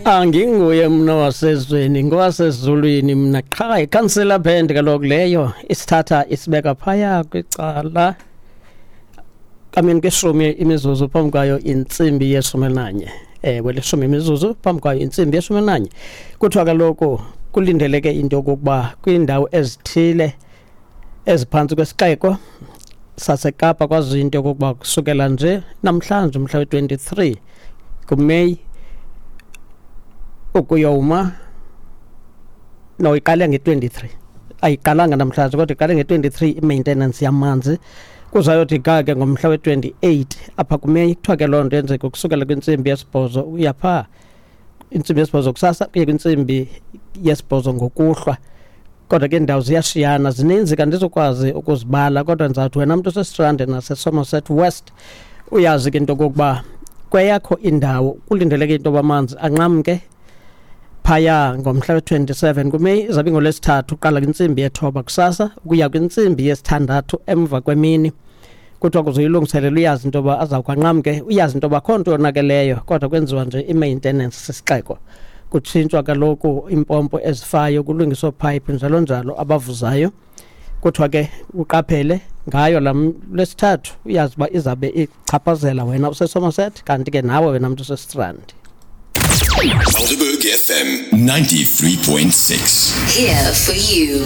Anginguye mna wasezweni, ngowasezulwini mna qha. Ikhansela band kaloku leyo isithatha isibeka phaya kwicala kamini kwishumi imizuzu phambi kwayo intsimbi yeshumi elinanye. Ewe, lishumi imizuzu phambi kwayo intsimbi yeshumi elinanye. Kuthiwa kaloku kulindeleke into yokokuba kwiindawo ezithile eziphantsi kwesixeko saseKapa kwaziyo into yokokuba kusukela nje namhlanje, umhla we-23 kuMeyi, ukuyoma. No, iqale nge-23, ayiqalanga namhlanje kodwa iqale nge-23 i-maintenance yamanzi, kuzayothi ga ke ngomhla we-28 apha kuMeyi. Kuthiwa ke loo nto yenzeka ukusukela kwintsimbi yesibhozo uya phaa, intsimbi yesibhozo kusasa kuye kwintsimbi yesibhozo ngokuhlwa. Kodwa ke iindawo ziyashiyana, zininzi, kandizokwazi ukuzibala, kodwa ndizawuthi wena mntu useStrand naseSomerset West uyazi ke into okokuba kweyakho indawo kulindeleke into yoba amanzi anqamke phaya ngomhla we-27 kuMeyi, izabe ingolwesithathu, uqala kwintsimbi yethoba kusasa ukuya kwintsimbi yesithandathu emva kwemini. Kuthiwa kuzoyilungiselela, uyazi into yoba azawukwanqamke, uyazi into yoba akho nto yonakeleyo, kodwa kwenziwa nje i-maintenance sisixeko, kutshintshwa kaloku iimpompo ezifayo, kulungiswa oophayiphi, njalo njalo abavuzayo. Kuthiwa ke uqaphele ngayo la lwesithathu, uyazi uba izabe ichaphazela wena useSomerset, kanti ke nawe wena mntu useStrand. Helderberg FM 93.6. Here for you.